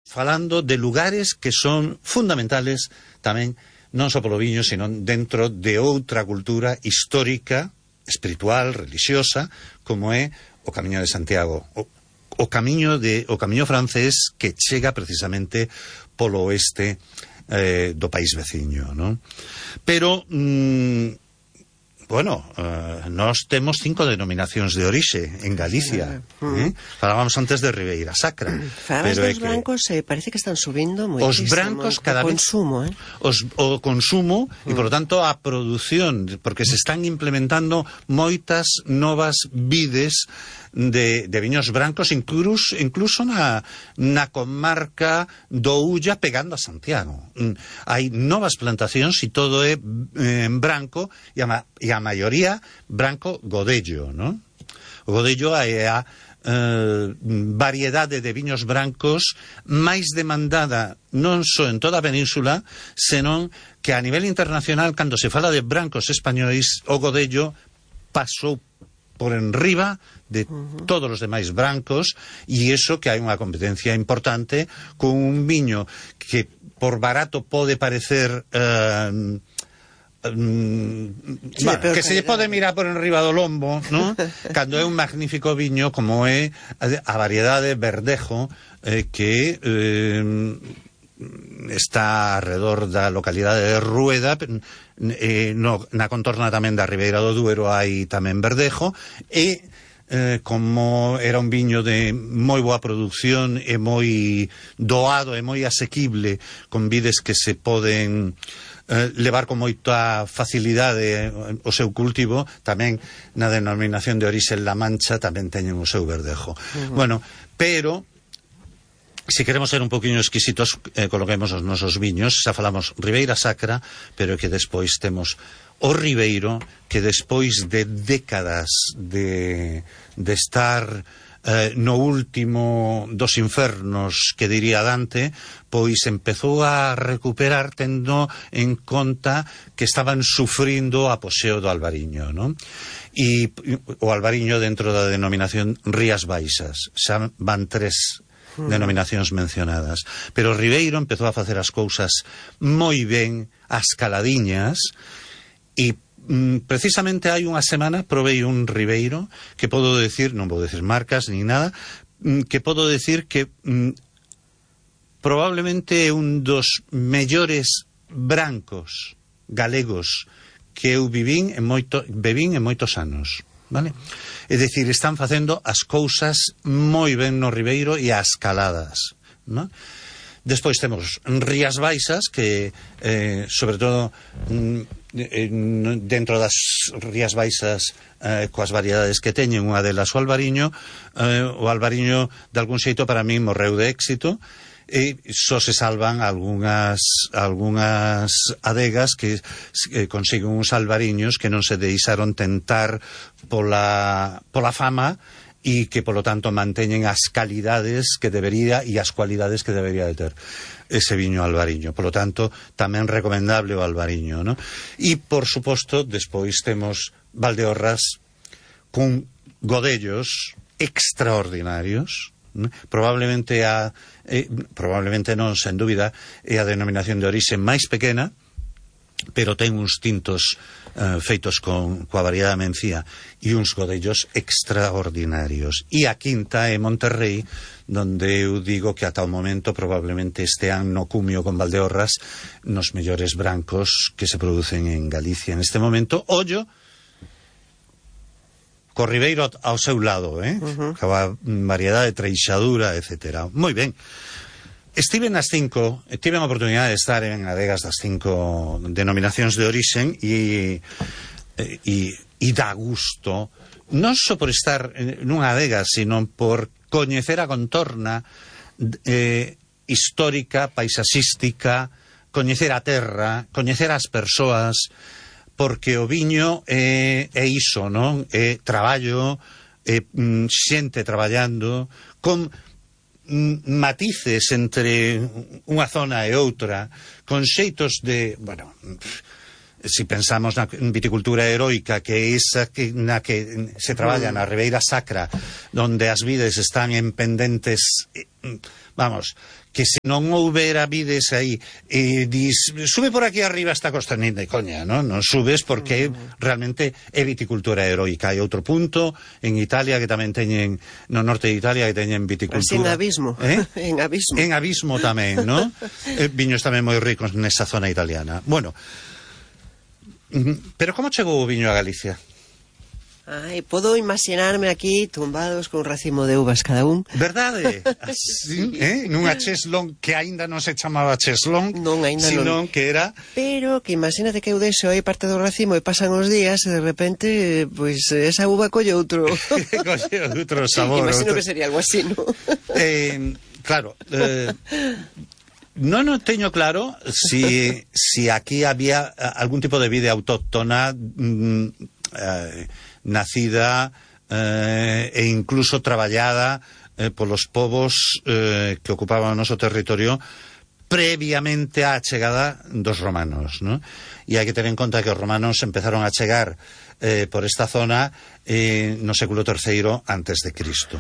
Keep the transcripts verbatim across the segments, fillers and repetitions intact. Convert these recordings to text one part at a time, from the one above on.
falando de lugares que son fundmentales tamén non só polo viño, sino dentro de outra cultura histórica, espiritual, religiosa, como é o Camiño de Santiago, o, o camiño de o camiño francés que chega precisamente polo oeste eh, do país veciño, non? Pero mmm, bueno, uh, nós temos cinco denominacións de orixe en Galicia. Eh? Falábamos antes de Ribeira Sacra. Falabas dos que... brancos, eh, parece que están subindo moitísimo. Os brancos cada o vez... consumo, eh? Os, o consumo, mm. e, por lo tanto, a produción, porque se están implementando moitas novas vides de, de viños brancos, incluso, incluso na, na comarca do Ulla, pegando a Santiago. Mm. Hai novas plantacións e todo é eh, branco, e a, e a maioría branco godello, ¿no? O godello é a eh, variedade de viños brancos máis demandada non só en toda a península, senón que a nivel internacional, cando se fala de brancos españois, o godello pasou por enriba de todos os demais brancos, e iso que hai unha competencia importante con un viño que por barato pode parecer eh, mm, sí, bueno, que se lle pode mirar por enriba do lombo, ¿no? Cando é un magnífico viño como é a variedade verdejo eh, que eh, está alrededor da localidade de Rueda, eh, no, na contorna tamén da Ribeira do Duero hai tamén verdejo, e eh, como era un viño de moi boa produción e moi doado e moi asequible, con vides que se poden eh, levar con moita facilidade o seu cultivo, tamén na denominación de orixe La Mancha tamén teñen o seu verdejo. Uh-huh. Bueno, pero se queremos ser un poquinho exquisitos, eh, coloquemos os nosos viños. Xa falamos Ribeira Sacra, pero que despois temos o Ribeiro, que despois de décadas de, de estar eh, no último dos infernos, que diría Dante, pois empezou a recuperar, tendo en conta que estaban sufrindo o apoxeo do albariño, non? E o albariño dentro da denominación Rías Baixas. Xa van tres denominacións mencionadas, pero Ribeiro empezou a facer as cousas moi ben, as caladiñas, e mm, precisamente hai unha semana provei un Ribeiro que podo decir, non vou decir marcas ni nada, mm, que podo decir que mm, probablemente é un dos mellores brancos galegos que eu vivín en moito, bebín en moitos anos. Vale? É dicir, están facendo as cousas moi ben no Ribeiro e as caladas, ¿no? Despois temos Rías Baixas, que eh, sobre todo mm, dentro das Rías Baixas, eh, coas variedades que teñen, unha delas o albariño, eh, o albariño de algún xeito para mí morreu de éxito, e só se salvan algunhas algunhas adegas que eh, consiguen uns albariños que non se deixaron tentar pola, pola fama, e que polo tanto manteñen as calidades que debería e as cualidades que debería de ter ese viño albariño. Polo tanto, tamén recomendable o albariño, ¿no? E por suposto, despois temos Valdeorras con godellos extraordinarios. Probablemente a eh, probablemente non, sen dúbida, é a denominación de orixe máis pequena, pero ten uns tintos eh, feitos con coa variedade mencía e uns godellos extraordinarios. E a quinta é Monterrey, donde eu digo que ata o momento probablemente estean no cumio con Valdeorras nos mellores brancos que se producen en Galicia en este momento. Ollo co Ribeiro ao seu lado, eh? Uh-huh. Coa variedade de treixadura, etcétera. Moi ben. Estive nas cinco, tive a oportunidade de estar en adegas das cinco denominacións de orixen, e, e, e dá gusto, non só por estar nunha adega, sino por coñecer a contorna eh, histórica, paisaxística, coñecer a terra, coñecer as persoas, porque o viño é, é iso, non? É traballo, é mm, xente traballando, con mm, matices entre unha zona e outra, con xeitos de, bueno, si pensamos na viticultura heroica, que é esa que, na que se traballa na Ribeira Sacra, donde as vides están en pendentes, vamos, que se non houbera vides aí, e dis, sube por aquí arriba esta costa, nin de coña, non? Non subes porque realmente é viticultura heroica. Hai outro punto en Italia que tamén teñen, no norte de Italia, que teñen viticultura. Así en abismo, eh? en abismo. En abismo tamén, non? eh, viños tamén moi ricos nesa zona italiana. Bueno, pero como chegou o viño a Galicia? Ai, podo imaginarme aquí tumbados con un racimo de uvas cada un. Verdade? Así, eh? Nunha cheslón que aínda non se chamaba cheslón, non, sino non. que era... Pero que imagínate que eu deixo aí parte do racimo e pasan os días e de repente, pois, esa uva colle outro... colle outro sabor. Imagino outro... que sería algo así, ¿no? eh, claro... Eh... No, no teño claro si, si aquí había algún tipo de vida autóctona mm, eh, nacida eh, e incluso traballada eh, polos povos eh, que ocupaban o noso territorio previamente á chegada dos romanos, ¿no? E hai que ter en conta que os romanos empezaron a chegar eh, por esta zona eh, no século terceiro antes de Cristo.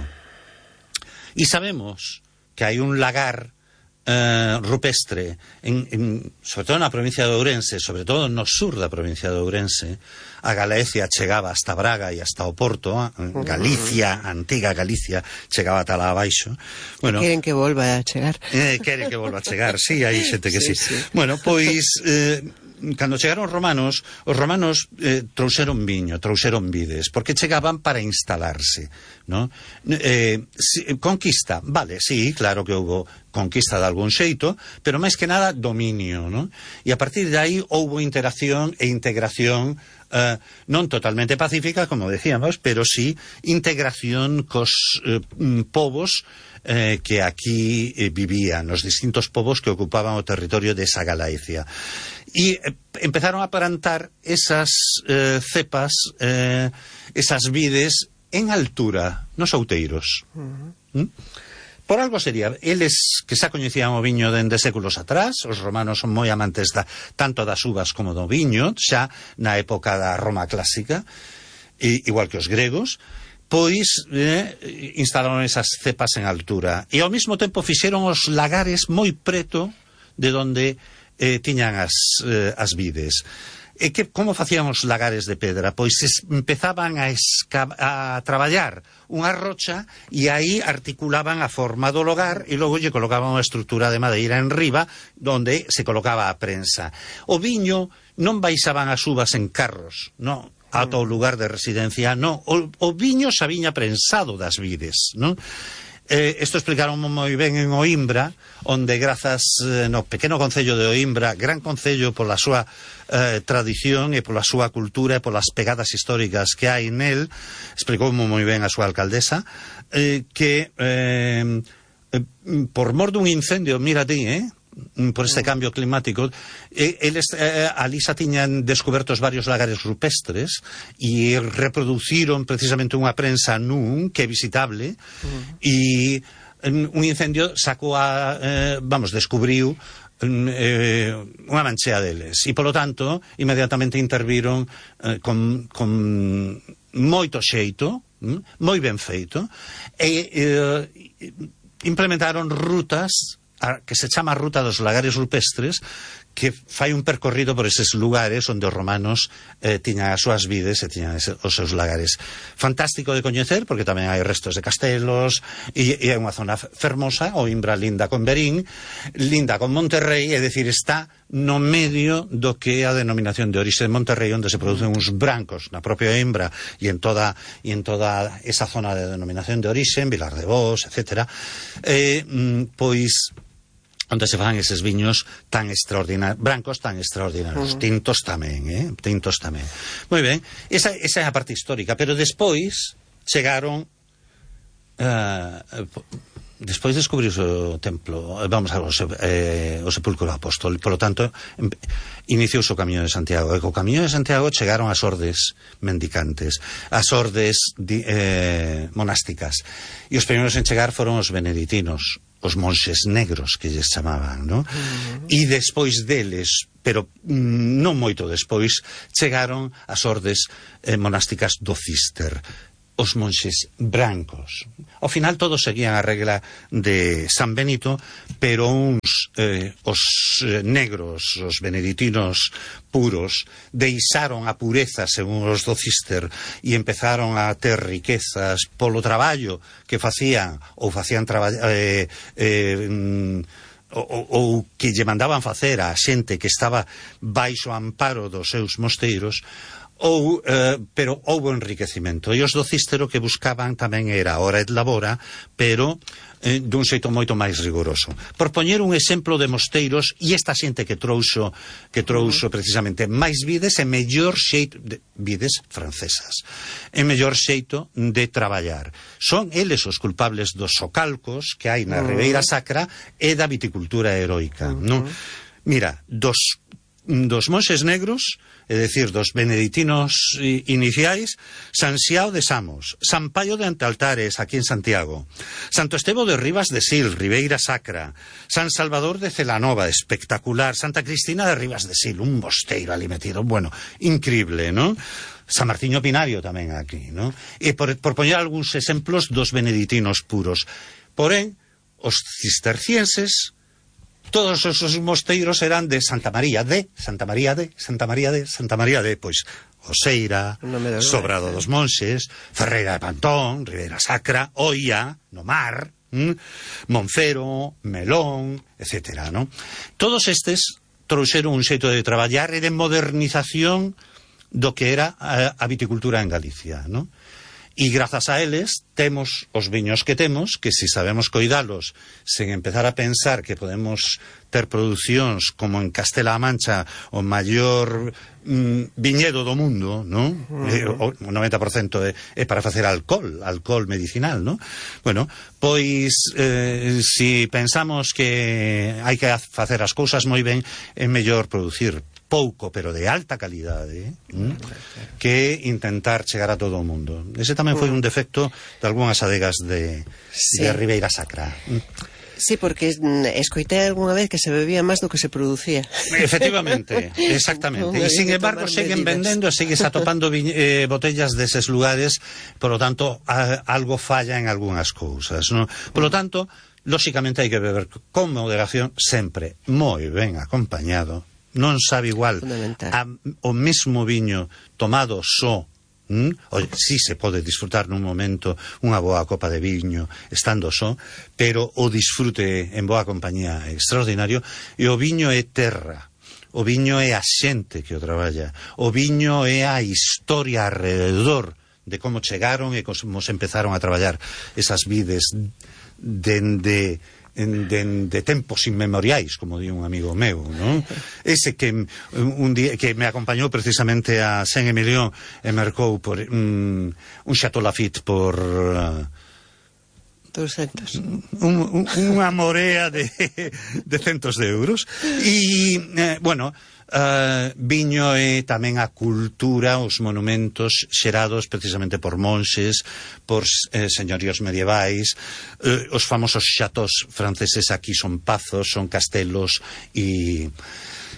E sabemos que hai un lagar Uh, rupestre en, en, sobre todo na provincia de Ourense, sobre todo no sur da provincia de Ourense. A Galicia chegaba hasta Braga e hasta o Porto, Galicia, antiga Galicia, chegaba ata lá abaixo. Bueno, queren que volva a chegar. Eh, queren que volva a chegar, sí, hai xente que sí, sí. sí. Bueno, pois eh, cando chegaron os romanos, os romanos eh, trouxeron viño, trouxeron vides, porque chegaban para instalarse, ¿no? Eh, si, conquista, vale, sí, claro que houbo conquista de algún xeito, pero máis que nada dominio, ¿no? E a partir de aí houbo interacción e integración eh, non totalmente pacífica, como decíamos, pero sí integración cos eh, povos Eh, que aquí eh, vivían, os distintos povos que ocupaban o territorio desa Galicia. E eh, empezaron a plantar esas eh, cepas, eh, esas vides en altura, nos outeiros. Uh-huh. ¿Mm? Por algo sería, eles que xa coñecían o viño dende séculos atrás, os romanos son moi amantes da, tanto das uvas como do viño, xa na época da Roma clásica, e, igual que os gregos, pois eh, instalaron esas cepas en altura e ao mesmo tempo fixeron os lagares moi preto de donde eh, tiñan as, eh, as vides. E que, como facían os lagares de pedra? Pois es, empezaban a, a traballar unha rocha e aí articulaban a forma do lagar e logo lle colocaban unha estrutura de madeira en riba donde se colocaba a prensa. O viño non baixaban as uvas en carros, non, ata o lugar de residencia, non, o, o viño xa viña prensado das vides, non? Eh, isto explicaron moi ben en Oimbra, onde grazas eh, no pequeno concello de Oimbra, gran concello pola súa eh, tradición e pola súa cultura e polas pegadas históricas que hai nel, explicou moi ben a súa alcaldesa, eh, que eh, eh, por mor dun incendio, mira ti, eh, por este cambio climático, eh, eles eh, ali xa tiñan descubertos varios lagares rupestres e reproduciron precisamente unha prensa nun que é visitable e uh-huh. un incendio sacou a, eh, vamos, descubriu eh, unha manchea deles e polo tanto inmediatamente interviron eh, con, con moito xeito, hm, moi ben feito e eh, implementaron rutas que se chama Ruta dos Lagares Rupestres, que fai un percorrido por eses lugares onde os romanos eh, tiñan as súas vides e tiñan ese, os seus lagares. Fantástico de coñecer, porque tamén hai restos de castelos, e, e é unha zona fermosa, Oimbra linda con Verín, linda con Monterrey, é dicir, está no medio do que é a denominación de orixe de Monterrey, onde se producen uns brancos na propia Oimbra e en toda, e en toda esa zona de denominación de orixe, en Vilar de Bos, etcétera. Eh, pois onde se fan eses viños tan extraordinarios, brancos tan extraordinarios, uh-huh. tintos tamén, eh? tintos tamén. Moi ben, esa, esa é a parte histórica, pero despois chegaron, uh, despois descubriuse o templo, vamos a ver, eh, o sepulcro do apóstol, polo tanto, iniciouse o Camiño de Santiago, e co Camiño de Santiago chegaron as ordes mendicantes, as ordes di, eh, monásticas, e os primeiros en chegar foron os beneditinos, os monxes negros que lles chamaban, ¿no? Uh-huh. E despois deles pero mm, non moito despois chegaron as ordes eh, monásticas do Cister, os monxes brancos. Ao final todos seguían a regla de San Benito, pero uns, eh, os eh, negros, os beneditinos puros, deixaron a pureza según os do Cister e empezaron a ter riquezas polo traballo que facían, ou facían traballar eh, eh, ou, ou que lle mandaban facer a xente que estaba baixo amparo dos seus mosteiros. Ou, eh, pero houbo enriquecimento, e os do Cístero que buscaban tamén era hora et labora, pero eh, dun xeito moito máis rigoroso. Por poñer un exemplo de mosteiros, e esta xente que trouxo que trouxo precisamente máis vides e mellor xeito de, vides francesas, e mellor xeito de traballar. Son eles os culpables dos socalcos que hai na Ribeira Sacra e da viticultura heroica, uh -huh. non? Mira, dos dos monxes negros, é dicir, dos beneditinos iniciais, San Xiao de Samos, San Paio de Antealtares, aquí en Santiago, Santo Estevo de Rivas de Sil, Ribeira Sacra, San Salvador de Celanova, espectacular, Santa Cristina de Rivas de Sil, un mosteiro ali metido, bueno, increíble, ¿no? San Martiño Pinario tamén aquí, ¿no? E por, por poñer algúns exemplos dos beneditinos puros. Porén, os cistercienses, todos esos mosteiros eran de Santa María de, Santa María de, Santa María de, Santa María de, pois, Oseira, Sobrado dos Monxes, Ferreira de Pantón, Ribeira Sacra, Oia, no Mar, ¿m? Monfero, Melón, etcétera, ¿no? Todos estes trouxeron un xeito de traballar e de modernización do que era a, a viticultura en Galicia, ¿no? E grazas a eles temos os viños que temos, que se sabemos coidalos sen empezar a pensar que podemos ter producións como en Castela-A Mancha, o maior mm, viñedo do mundo, non? Uh-huh. O noventa por cento é, é para facer alcohol, alcohol medicinal, non? Bueno, pois eh, si pensamos que hai que facer as cousas moi ben, é mellor producir pouco, pero de alta calidade, ¿eh? que intentar chegar a todo o mundo. Ese tamén foi un defecto de algunhas adegas de, sí. de Ribeira Sacra. Sí, porque escoitei algunha vez que se bebía máis do que se producía. Efectivamente, exactamente. E, sin embargo, seguen vendendo e segues atopando eh, botellas deses lugares, por lo tanto, a, algo falla en algunhas cousas, ¿no? Por lo tanto, lóxicamente hai que beber con moderación sempre, moi ben acompañado. Non sabe igual a, o mesmo viño tomado só, ¿m? O, sí se pode disfrutar nun momento unha boa copa de viño estando só, pero o disfrute en boa compañía é extraordinario, e o viño é terra, o viño é a xente que o traballa, o viño é a historia alrededor de como chegaron e como se empezaron a traballar esas vides dende En, de, de tempos inmemoriais, como di un amigo meu, ¿no? Ese que un día que me acompañou precisamente a Saint-Emilion e mercou por un, un Chateau Lafite por uh, doscientos un, un, unha morea de, de centos de euros e, eh, bueno, Uh, viño é tamén a cultura, os monumentos xerados precisamente por monxes, por eh, señoríos medievais, eh, os famosos chateaux franceses aquí son pazos, son castelos e,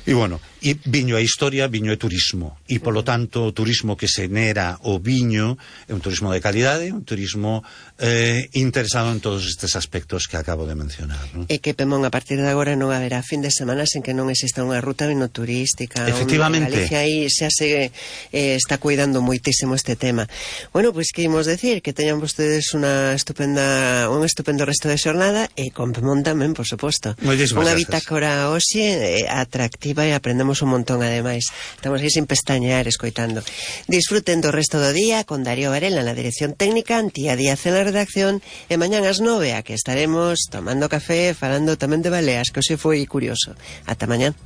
e bueno, e viño é historia, viño é turismo, e polo tanto o turismo que se nera o viño é un turismo de calidade, un turismo eh, interesado en todos estes aspectos que acabo de mencionar, ¿no? E que, Pemón, a partir de agora non haberá fin de semana sen que non exista unha ruta vinoturística. Efectivamente. Galicia aí xa se eh, está cuidando moitísimo este tema. Bueno, pois pues, que imos decir? Que teñan vostedes unha estupenda un estupendo resto de xornada, e con Pemón tamén, por suposto. Unha bitácora hoxe eh, atractiva, e aprendemos un montón, ademais. Estamos aí sin pestañear, escoitando. Disfruten do resto do día con Darío Varela na dirección técnica, Antía Díaz en la redacción, e mañán ás nove a que estaremos tomando café, falando tamén de baleas, que hoxe foi curioso. Ata mañán.